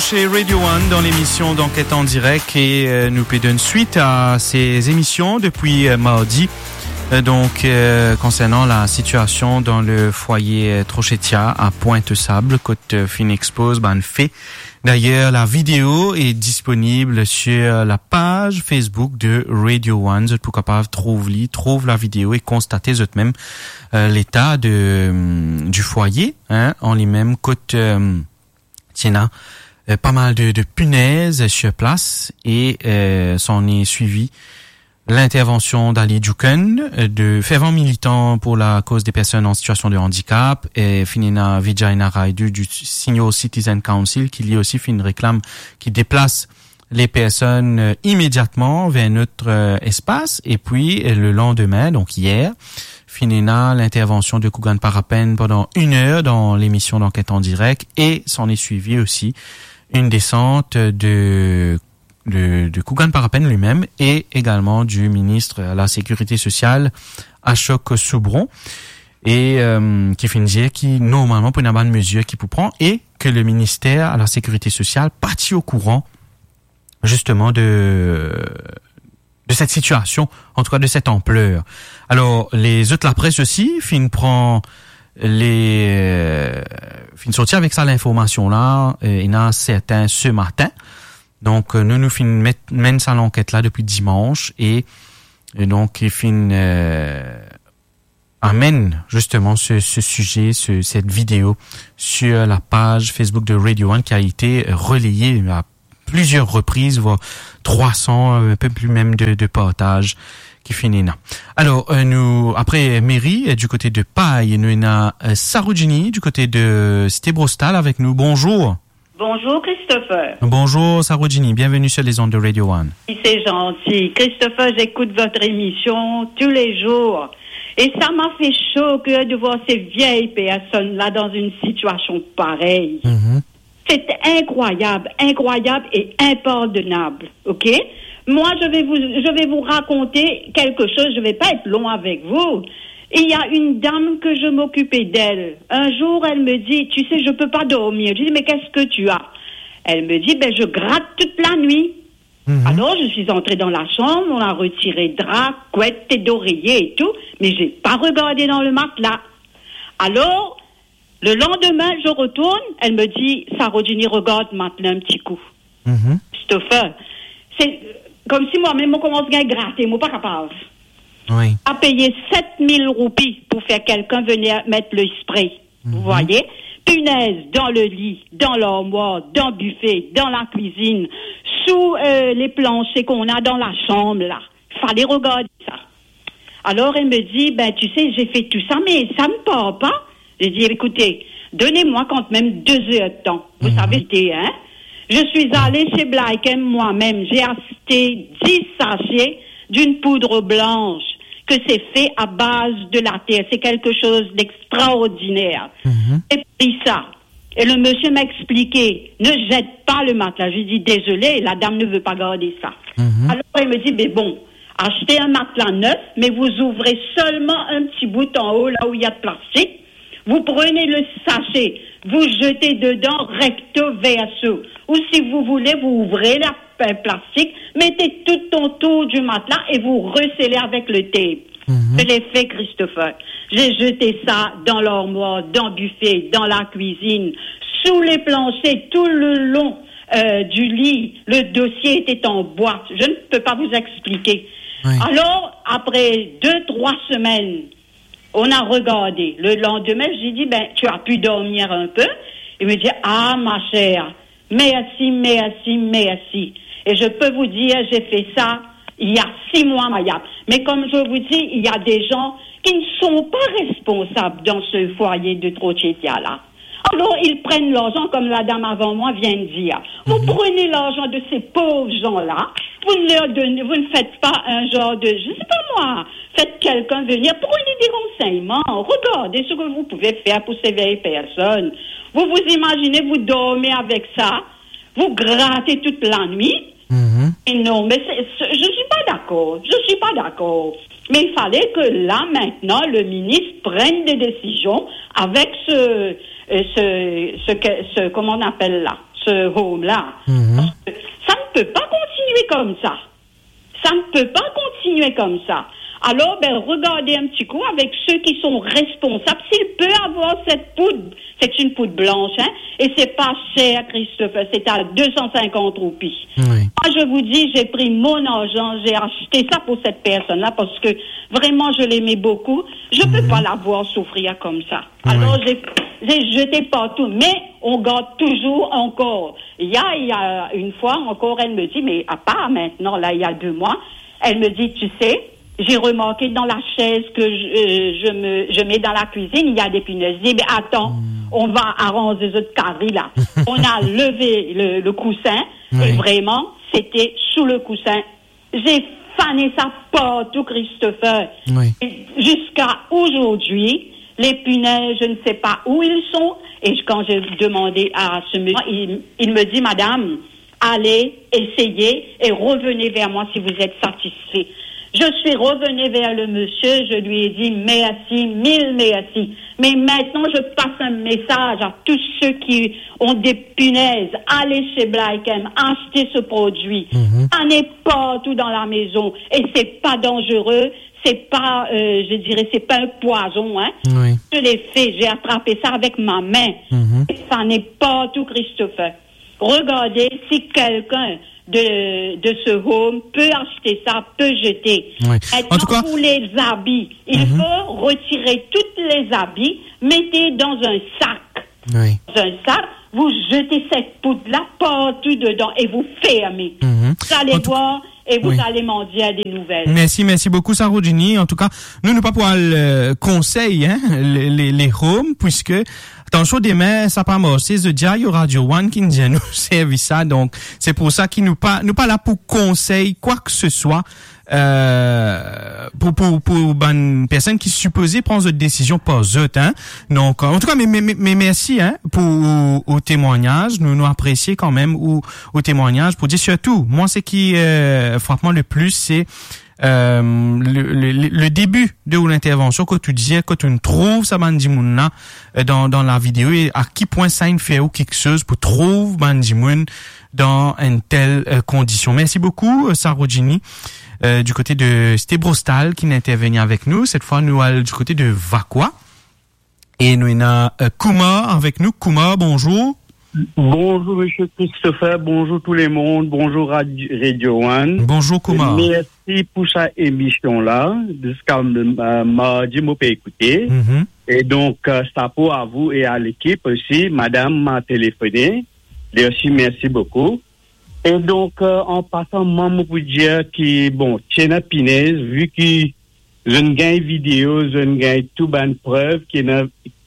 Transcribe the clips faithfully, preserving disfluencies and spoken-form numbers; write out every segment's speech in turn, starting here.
Chez Radio One dans l'émission d'Enquête en direct et euh, nous pouvons donner suite à ces émissions depuis euh, mardi. Euh, donc, euh, concernant la situation dans le foyer euh, Trochetia à Pointe-aux-Sables, kot euh, fin expose, ben, fait. D'ailleurs, la vidéo est disponible sur la page Facebook de Radio One. Zot pou kapav trouv li, trouv la vidéo et constater zot mem euh, l'état de, euh, du foyer, hein, en lui-même, kot euh, ti ena euh, pas mal de, de punaises sur place et euh, s'en est suivi l'intervention d'Ali Djoukun, euh, de fervent militant pour la cause des personnes en situation de handicap, et fin ena Vijay Naidu du Senior Citizen Council, qui lui aussi fait une réclame, qui déplace les personnes euh, immédiatement vers un autre euh, espace. Et puis euh, le lendemain, donc hier, fin ena l'intervention de Kugan Parapen pendant une heure dans l'émission d'Enquête en direct et s'en est suivi aussi une descente de, de, de Kugan Parapen lui-même et également du ministre à la Sécurité sociale, Ashok Soubron, et euh, ki fin dir ki normalman pou ena bann mezir ki pou pran et que le ministère à la Sécurité sociale pa ti au courant justement de de cette situation, en tout cas de cette ampleur. Alors, les autres, la presse aussi, fin pran les euh, fin sorti avec ça l'information là, euh, ena certains ce matin. Donc euh, nous nous fin met, menn sa lanket la depuis dimanche et, et donc il fin euh, amène justement ce, ce sujet, ce- cette vidéo sur la page Facebook de Radio One qui a été relayée à plusieurs reprises, voire trois cents, euh, un peu plus même de, de partages qui fin ena. Alors, euh, nous, après Mary, euh, du côté de Paille, nous ena euh, Sarojini du côté de Cité Brostal avec nous. Bonjour. Bonjour Christopher. Bonjour Sarojini, bienvenue sur les ondes de Radio One. C'est gentil. Christopher, j'écoute votre émission tous les jours. Et ça m'a fait chaud au cœur de voir ces vieilles personnes-là dans une situation pareille. Mhm. C'est incroyable, incroyable et impardonnable, ok ? Moi, je vais vous, je vais vous raconter quelque chose, je vais pas être long avec vous. Il y a une dame que je m'occupais d'elle. Un jour, elle me dit, tu sais, je peux pas dormir. Je dis, mais qu'est-ce que tu as ? Elle me dit, ben, je gratte toute la nuit. Mhm. Alors, je suis entrée dans la chambre, on a retiré drap, couette et d'oreiller et tout, mais j'ai pas regardé dans le matelas. Alors, le lendemain, je retourne, elle me dit, Sarojini, regarde matelas un petit coup. Mhm. Christopher, c'est comme si moi-même, on commence à gratter, moi, pas capable. Oui. A payé sept mille roupies pour faire quelqu'un venir mettre le spray. Vous voyez ? Punaise dans le lit, dans l'armoire, dans le buffet, dans la cuisine, sous euh, les planchers qu'on a dans la chambre, là. Fallait regarder ça. Alors elle me dit, ben tu sais, j'ai fait tout ça, mais ça ne part pas. J'ai dit, écoutez, donnez-moi quand même deux heures de temps. Vous savez, c'était, hein ? Je suis allée chez Black M moi-même, j'ai acheté dix sachets d'une poudre blanche que c'est fait à base de la terre. C'est quelque chose d'extraordinaire. Mhm. J'ai pris ça. Et le monsieur m'a expliqué, ne jette pas le matelas. Je lui dis, désolé, la dame ne veut pas garder ça. Mhm. Alors il me dit, mais bon, achetez un matelas neuf, mais vous ouvrez seulement un petit bout en haut, là où il y a de plastique. Vous prenez le sachet, vous jetez dedans recto verso. Ou si vous voulez, vous ouvrez la, le plastique, mettez tout autour du matelas et vous rescellez avec le tape. Mhm. Je l'ai fait, Christopher. J'ai jeté ça dans l'armoire, dans le buffet, dans la cuisine, sous les planchers, tout le long euh, du lit. Le dossier était en boîte. Je ne peux pas vous expliquer. Oui. Alors, après deux, trois semaines, on a regardé. Le lendemain, j'ai dit, ben, tu as pu dormir un peu. Il me dit, ah, ma chère, merci, merci, merci. Et je peux vous dire, j'ai fait ça il y a six mois, Mayap. Mais comme je vous dis, il y a des gens qui ne sont pas responsables dans ce foyer de Trochetia-là. Alors, ils prennent l'argent, comme la dame avant moi vient de dire. Vous prenez l'argent de ces pauvres gens-là, vous ne leur donnez, vous ne faites pas un genre de, je sais pas moi, faites quelqu'un venir, prenez des renseignements, regardez ce que vous pouvez faire pour ces vieilles personnes. Vous vous imaginez, vous dormez avec ça, vous grattez toute la nuit. Mhm. Et non, mais c'est, c'est- je suis pas d'accord. Je suis pas d'accord. Mais il fallait que là, maintenant, le ministre prenne des décisions avec ce, euh, ce, ce que, ce, comment on appelle là, ce home-là. Mhm. Parce que ça ne peut pas continuer comme ça. Ça ne peut pas continuer comme ça. Alors, ben, regardez un petit coup avec ceux qui sont responsables. S'il peut avoir cette poudre, c'est une poudre blanche, hein, et c'est pas cher, Christopher, c'est à deux cent cinquante roupies. Oui. Moi, je vous dis, j'ai pris mon argent, j'ai acheté ça pour cette personne-là parce que vraiment, je l'aimais beaucoup. Je peux pas la voir souffrir comme ça. Oui. Alors, j'ai, j'ai jeté partout, mais on garde toujours encore. Il y a, il y a une fois encore, elle me dit, mais à part maintenant, là, il y a deux mois, elle me dit, tu sais, j'ai remarqué dans la chaise que je, euh, je me, je mets dans la cuisine, il y a des punaises. Je dis, mais attends, on va arranger ce carré-là. On a levé le, le coussin, et vraiment, c'était sous le coussin. J'ai fané ça partout, Christopher. Oui. Et jusqu'à aujourd'hui, les punaises, je ne sais pas où ils sont. Et quand j'ai demandé à ce monsieur, il, il me dit, madame, allez, essayez et revenez vers moi si vous êtes satisfait. Je suis revenue vers le monsieur, je lui ai dit merci, mille merci. Mais maintenant, je passe un message à tous ceux qui ont des punaises. Allez chez Black M, achetez ce produit. Mhm. Ça n'est partout dans la maison. Et c'est pas dangereux, c'est pas, euh, je dirais, c'est pas un poison, hein. Oui. Je l'ai fait, j'ai attrapé ça avec ma main. Mhm. Et ça n'est partout, Christopher. Regardez si quelqu'un de, de ce home peut acheter ça, peut jeter. Oui. Maintenant, en tout cas, pour les habits, il faut retirer tous les habits, mettez dans un sac. Oui. Dans un sac, vous jetez cette poudre-là partout dedans et vous fermez. Mhm. Vous allez voir et vous allez m'en dire des nouvelles. Mersi, mersi boukou, Sarojini. Antouka, nou, nou pa pou al, euh, konsey, hein, les, les, les home, puisque, atansion, demin, sa pa marse, zot dir, Radio One ki dir nou servi sa, donk, se pou sa ki nou pa, nou pa la pou konsey kwa ke se swa, euh, pou, pou, pou bann personn ki sipoze pran zot desizion par zot, hein. Donk, antouka, me, me, me, me mersi, hein, pou ou, ou temwagnaz. Nou, nou apresie kanmem ou, ou temwagnaz pou dir sirtou, mwa, seki, euh, frap mwa le plis, se, euh, le, le, le, le debi de ou lintervansion, kot ou dir, kot ou trouv sa bann dimoun la, euh, dan, dan la video, e a ki pwin sa inn fer ou kiksoz pou trouv bann dimoun dan enn tel, euh, kondision. Mersi boukou, euh, Sarojini, euh, du kote de, se te Brostal ki inn interveni avek nou. Set fwa, nou al du kote de Vacoas. E nou ena, euh, Koumar avek nou. Koumar, bonzour. Bonzour, monsieur Christopher. Bonzour tout le monde. Bonzour, Rad-, Radio One. Bonzour, Koumar. Mersi pou sa emision la. Ziska, euh, mardi, mo pe ekoute. Mhm. E donk, euh, sapo a vou e a lekip osi. Madam ma telefone. Li osi, mersi boukou. E donk, euh, an pasan, mwa, mo pou dir ki, bon, ti ena pinez, vi ki zot inn gagn video, zot inn gagn tou bann prev ki ena,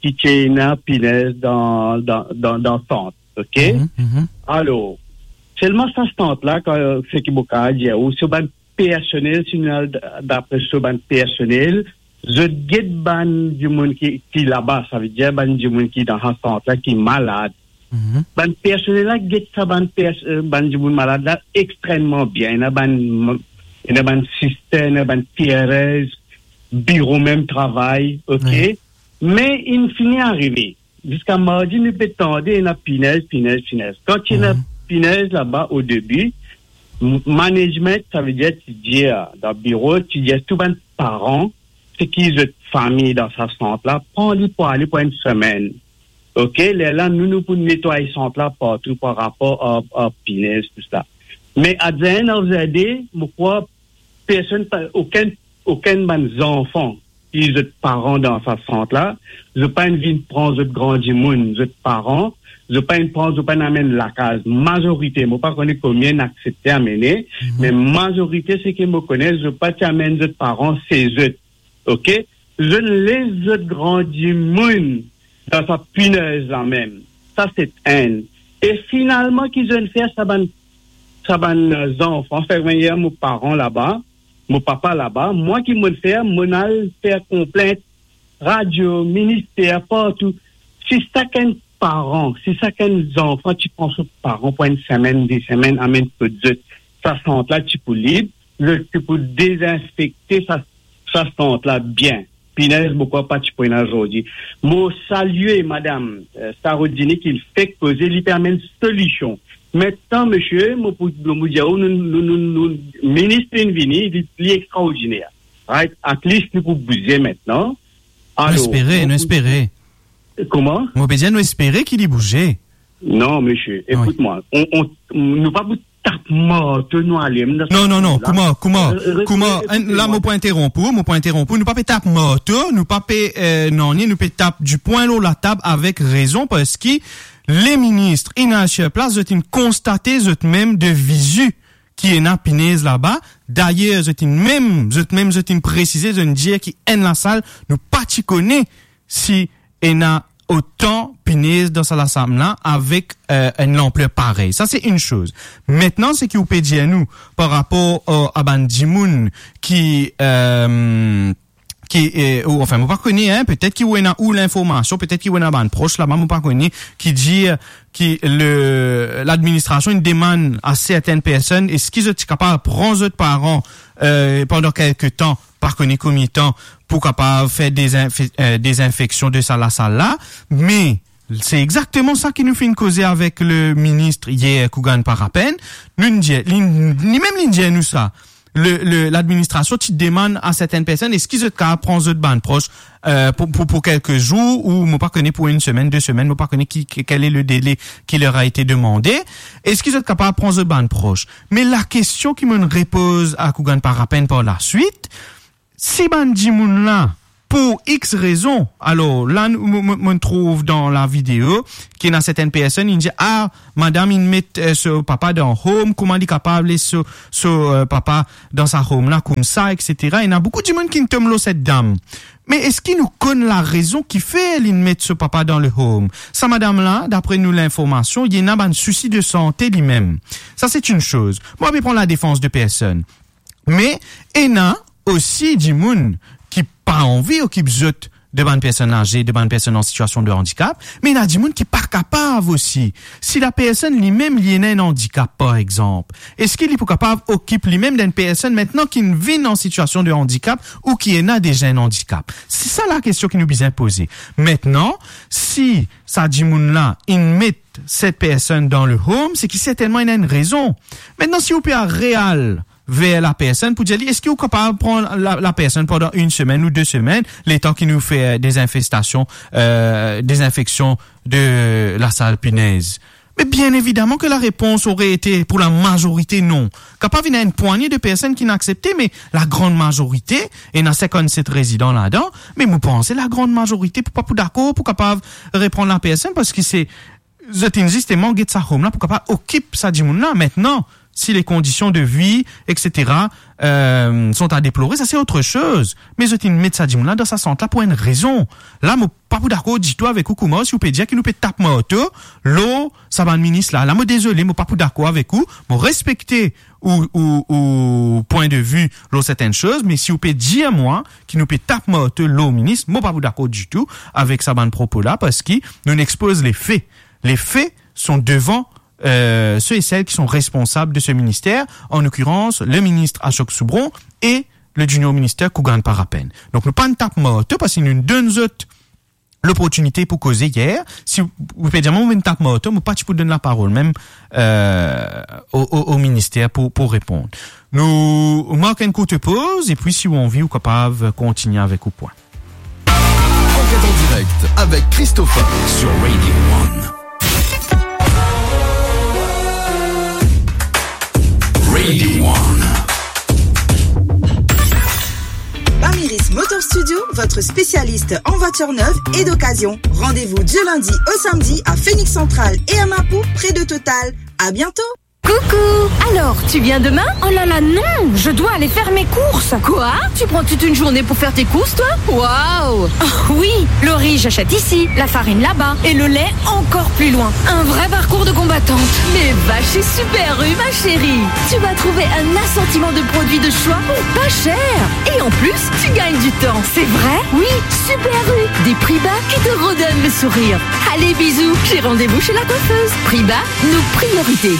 ki ti ena pinez dan, dan, dan, dan sant, ok? Mhm, mhm. Alor, selman sa sant la, kan, seki mo kapav dir ou, se bann personel, si nou al d-, dapre so bann personel, zot get bann dimoun ki, ki laba, savedir bann dimoun ki dan sa sant la, ki malad. Mhm. Bann personel la get sa bann pers-, euh, bann dimoun malad la extremman bien. Ena bann, ena bann sister, ena bann carers, biro mem travay, ok? Wi. Me inn fini arive. Ziska mardi, nou pe tande ena pinez, pinez, pinez. Kan ti ena pinez laba o debi, m-, management, savedir ti dir, dan biro, ti dir tou bann paran, seki zot fami dan sa sant la, pran li pou ale pou enn semenn. Ok, lerla nou, nou pou netway sant la partou par rapor a, a pinez, tou sa. Me at the end of the day, mo krwar personn pa, okenn, okenn bann zanfan ki zot paran dan sa sant la, zot pa inn vinn pran zot gran dimoun, zot paran, zot pa inn pran, zot pa inn amenn lakaz. Mazorite, mo pa kone konbien inn aksepte amene, me mazorite, seki mo kone, zot pa ti amenn zot paran se zot. Ok? Zot les zot gran dimoun dan sa pinez la mem. Sa se enn. E finalman, ki zot fer sa bann, sa bann, euh, zanfan, fer vinn mo paran laba, mo papa laba, mwa ki mo fer, mo al fer konplint radio, minister, partou. Si sakenn paran, si sakenn zanfan ti pran so paran pou enn semenn, de semenn, amenn kot zot, sa sant la ti pou lib, zot ti pou dezinfekte sa, sa sant la bien. pinez, mo krwar pa ti pou ena zordi. Mo salie madam, eh, Sarah Dini ki fek koze, li pe amenn solision. Aster, misie, mo pou, mo pou dir, nou, nou, nou, nou, minis inn vini, li, li extraordiner. Right? At least nou pou bouze aster. Nou espere, nou espere. Kouma? Mo pe dir, nou espere ki li bouze. Non, misie, ekout mwa. Nou pa pou tap marto nou ale. Non, non, non, kouma, kouma, kouma, la, mo pou interonp ou, mo pou interonp ou, nou pa pe tap marto, nou pa pe, eh, nanye, nou pe tap dipwin lor latab avek rezon, parski le minis inn al sir plas, zot inn konstate zot mem de vizi ki ena pinez laba. Dayer, zot inn mem, zot mem, zot inn presize, zot inn dir ki enn lasal, nou pa ti kone si ena otan pinez dan sa lasal la avek, eh, enn lanpler parey. Sa se enn soz. Aster, seki ou pe dir nou par rapor, eh, a bann dimoun ki, eh, ki, eh, ou, anfin, mo pa kone, hein, petet ki ou ena ou linformasion, petet ki ou ena bann pros laba, mo pa kone, ki dir ki le, ladministrasion inn demann a sertenn personn, eski zot ti kapav pran zot paran, eh, pandan kelke tan, pa kone konbien tan, pou kapav fer dezinfe-, eh, dezinfeksion de sa lasal la, me se exakteman sa ki nou finn koze avek le minis yer, Kougan Parapen. Nou dir, li, li mem li dir nou sa. Le, le, ladministrasion ti demann a sertenn personn, eski zot kapav pran zot bann pros, eh, pou, pou, pou kelke zour, ou mo pa kone pou enn semenn, de semenn, mo pa kone ki, ki, quel est le délai qui leur a été demandé. Eski zot kapav pran zot bann pros? Me lakestion ki mo'nn repoz a Kougan Parapen par laswit, si bann dimoun la, pou X rezon, alor, la, nou, mo, mo, mo'nn trouv dan lavideo, ki ena sertenn personn, inn dir, "Ah, madam inn met, eh, so papa dan home, kouma li kapav les so, so, eh, papa dan sa home la koumsa, et cetera." Ena boukou dimoun ki'nn tom lor set dam. Me eski nou konn larezon kifer li'nn met so papa dan le home? Sa madam la, dapre nou linformasion, li ena bann sousi de sante limem. Sa se enn soz. Mo pa pe pran ladefans de personn. Me ena osi dimoun ki pa anvi okip zot de bann personn aze, de bann personn an sitiasion de andikap, me ena dimoun ki pa kapav osi. Si lapersonn limem li ena enn andikap, par exanp, eski li pou kapav okip limem d'enn personn aster ki'nn vinn an sitiasion de andikap ou ki ena deza enn andikap? Se sa lakestion ki nou bizin poze. Aster, si sa dimoun la inn met set personn dan le home, se ki sertennman ena enn rezon. Aster, si ou pe al real ver lapersonn pou dir li, eski ou kapav pran la, lapersonn pandan enn semenn ou de semenn, letan ki nou fer dezinfestasion, eh, dezinfeksion de lasal pinez? Me bien evidaman ke larepons aurait été pour la majorité non. Kapav ena enn pwagne de personn ki'nn aksepte, me lagrann mazorite, ena sinkannset rezidan ladan, me mo panse lagrann mazorite pou pa pou dakor pou kapav repran lapersonn, parski se zot inn zisteman get sa home la pou kapav okip sa dimoun la. Aster, si les conditions de vie, et cetera, eh, sont à déplorer, sa se otre soz. Me zot inn met sa dimoun la dan sa sant la pou enn rezon. La, mo pa pou dakor ditou avek ou, kouma si ou pe dir ki nou pe tap marto lor sa bann minis la. La, mo dezole, mo pa pou dakor avek ou. Mo respekte ou, ou, ou pwin de vi lor sertenn soz, me si ou pe dir mwa ki nou pe tap marto lor minis, mo pa pou dakor ditou avek sa bann propo la, parski nou'nn expoz lefe. Les faits sont devant, euh, ceux et celles qui sont responsables de ce ministère, en l'occurrence le ministre Ashok Soubron et le junior ministre Kougan Parapen. Donk nou pa'nn tap marto parski nou donn zot loportinite pou koze yer. Si ou, ou pe dir mwa mo'nn tap marto, mo pa ti pou donn laparol mem, euh, o, o, o minister pou, pou reponn. Nou mark enn kourt poz, epi si ou anvi, ou kapav kontigne avek ou pwin. Enquête en direct avec Christopher sur Radio One. Radio One. Bamiris Motor Studio, votre spécialiste en voitures neuves et d'occasion. Rendez-vous du lundi au samedi à Phoenix Central et à Mapou, près de Total. À bientôt. Coucou. Alors, tu viens demain ? Oh là là, non, je dois aller faire mes courses. Quoi ? Tu prends toute une journée pour faire tes courses, toi ? Waouh ! Oh oui, le riz, j'achète ici, la farine là-bas et le lait encore plus loin. Un vrai parcours de combattante. Mais va chez Super U, ma chérie. Tu vas trouver un assortiment de produits de choix pour pas cher. Et en plus, tu gagnes du temps. C'est vrai ? Oui, Super U, des prix bas qui te redonnent le sourire. Allez, bisous, j'ai rendez-vous chez la coiffeuse. Prix bas, nos priorités.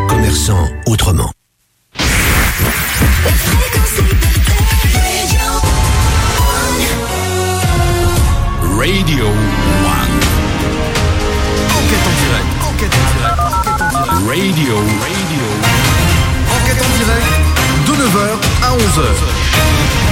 Commerçant autrement. Radio One. Enquête en direct, enquête en direct, enquête en direct. Radio, Radio. Enquête en direct, de neuf heures à onze heures.